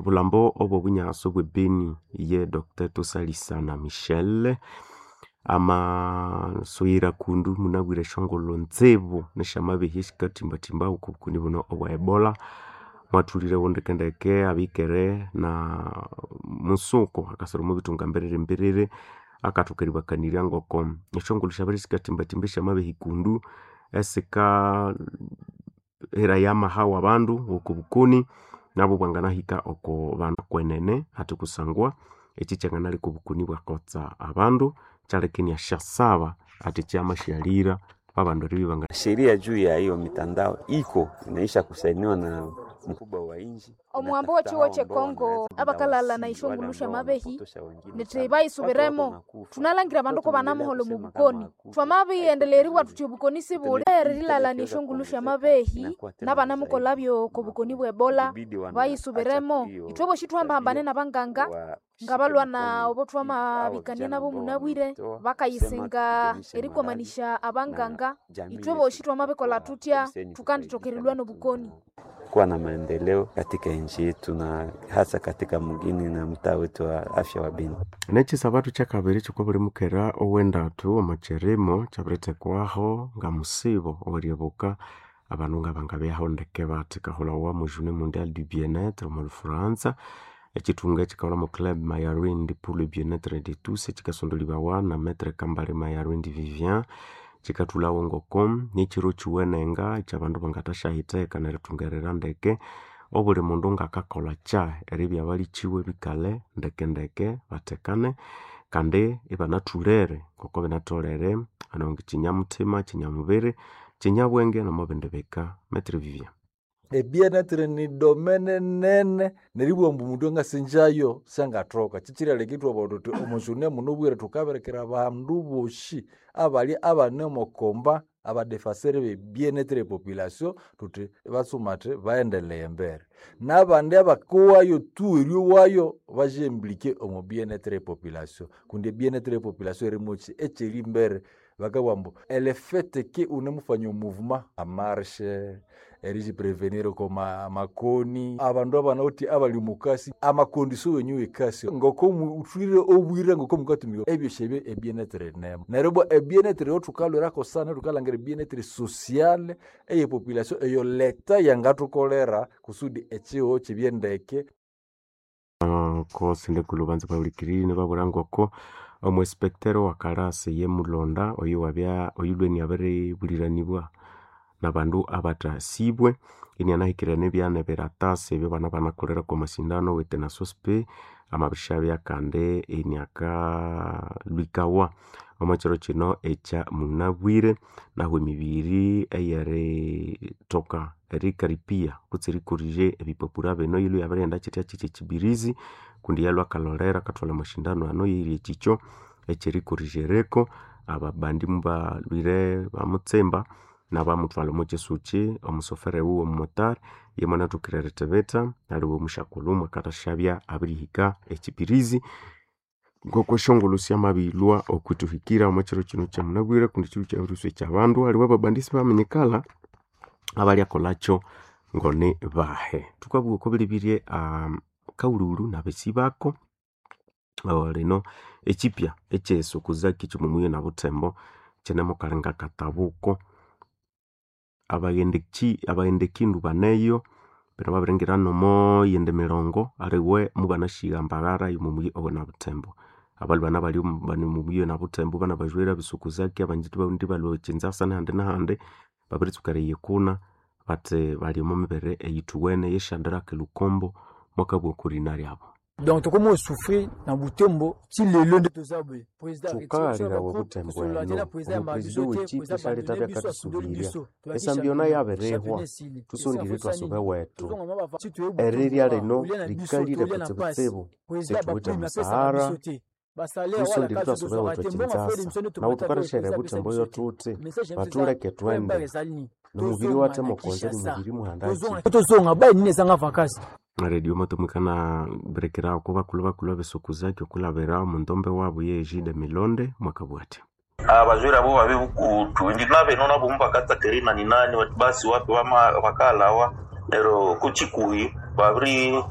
Bulambo obwo bunyaso bwe Beni ye Dr. Tosalisana Michel amasoyira kundu munabwire eshongolo nzibu neshamabehya esikatimbatimba oku bukoni buno obwa Ebola. Mwathulire ndekendeke abikere na musuko akasoro mubitunga mbiriri mbiriri akathoka eribakanirya ngoko eshongolo syabere sikatimbatimba esyamabehya kundu esika heraya amaha wabandu oko bukoni nabo bwanganahika oko bandu kwenene hathi kusangwa eki kyanganaleka obukoni bwakotsa abandu kyaleka iniasyasaba athi kyamasyalira abandu eribya banga. Sheria juu ya hiyo mitandao iko inaisha kusainiwa na mkubwa wa nchi. Omuhambo w'ekigo ky'ekongo abakalala ishongolo syamabehi nithi bayisubiremo. Thunalangira abandu ko banamuholha omu bukoni. Thwamabiyendeleryeribwa thuthi obukoni sibuli eririlhalania eshongolo syamabehi nabanamukolhabyo oko bukoni bwe Ebola bayisubiremo. Ithwe bosi thuhambahambane nabanganga ngabalhwana obo thwamabikania nabo munabwire bakayisinga erikwamanisya abanganga. Ithwe bosi thwamabikolha thuthya thukandithoka erilhwa nobukoni. Kuwa na maendeleo katika nchi yetu na hasa katika mugini na mtaa wetu wa afya wa Beni. Nekisabatu kyakabiri kyokwa mukera owendatu omukyirimo kyabirithekwaho ngamusibo oweryebuka abandu ngabangabyaho ndeke bathi kahulawa mu Journée Mondiale du Bien-être omu Lhufuranza. Ekithunga ekikahulha mu Club Mayarindi pour le bien-être de tous ekikasondolibawa na Maître Kambale Mayarindi Vivien. Kikathulhawo ngoko nikyiro kyiwenenga ekyabandu bangathasyahitheka nerithungerera ndeke obuli mundu ngakakolha kyahi eribya balikiwe bikale ndekendeke bathekane kandi ibanathulere ngoko binatholere nongi kinyamuthima, kinyamubiri, kinyabwenge nomubindi bika. Maître Vivien. Ebienêtre ni domaine nene neribugha ambu omundu angasinjayo syangathoka. Kyikyiraleka ithwabugha thuthi omo journée muno obwire thukabirekera abandu bosi abali abane omo combat abadefenseur be bien-être e population thuthi batsumathi baghendeleye embere. Nabandi abakowayo tu eryowayo basyimplike omo bien-être e population kundi ebienêtre e population yirimoki ekyerimbere. Bakabugha ambu le fait que wunemufanya omouvement amarche, eriyiprevenir oko makoni, abandu abanawithe abali omukasi, amacondition wenyu wekasi ngoko wuthwire obwire ngoko mukatumika ebyosi ebyo ebienêtre yinemo. Neryo ibwa ebienêtre eyathukalhwirako sana thukalhangira ebienêtre sociale eye population eyo leta yangathukolera kusudi ekihugho kibye ndeke. Ko sindekulu banza bahulikirire babwira ngoko omuinspector wa kalasi ye Mulonda oyo wabya oyulwe inabiribuliranibwa nabandu abathasibwe inianahikirira nebyana biratasi ebyo bana banakolera kwa masindano wetenasospe amabirishabya kandi iniakalwikawa omo kiro kino ekya munabwire. Nahu emibiri eyerithoka erikaripia kutse erikorije ebipapura bino yilwe yabirighenda kyithya kyithya ekyibirizi kundi yalhwa akalholera akathwalha amashindano ano yeyiri ekyikyo ekyerikorijereko. Ababandi mubalhwire bamutsimba nabamuthwalha omo kyisukyi omusofere wuwe omumotari yemwanathokire erithibitha aliwe omusyakulhu mwakathashabya abirihika ekyibirizi. Ngoko esyongulhu syamabilhwa okwithuhikira omo kiro kino kyamunabwire kundi kiro kyabiriswa ekyabandu aliwe ababandi sibaminyikala abalyakolhakyo ngoni bahe. Thukabugha oko bilibirye kaghulhughulhu nabesi bako lino ekyipya ekyesokuzaki kyomumuyi nabuthembo kyinemukalinga katabuko. Abaghendekindu baneyo bino babiringira nomo yindi mirongo aliwe mubanasyiga mbaghara yomomuyi owenabuthembo. Abalhwe bana bali omomuyi owenabuthembo banabajwere ebisokuzaki abanji balhwa ekyinzasa nahandi nahandi babiritsuka eriyikuna bathi bali omo mibere eyithuwene ye Shadrack Lukombo mwakabugha okwa ryabu. Donc tokomi osouffrir na Butembo ti lelo nde toza boye. Thukalirawa obuthembo eno omupresidente w'ekipi syalhethabya akathusubirirya esambiona yabirihwa thusondire ithwasuba ewethu. Erirya lino likalire kutsibutsibu sithuwithe omusahara thusondire ithwasuba ewethu ekyinzasa nahu thukathasyaghira ebuthembo yothuthi bathuleke thwende nomubiri wathemukonza nomubiri muhandaki. Tozonga bayi nini ezanga vacances. Radio matumikana birekera oko bakulhu bakulhu abesokuzaki okulabira omundombe wabu ye Egide Milonde mwakabugha athi abazwire abo babe bukutu indi nabeno nabo mubakatsakeri nani nani basi wapi bakalawa nero kuchikuhi babiri.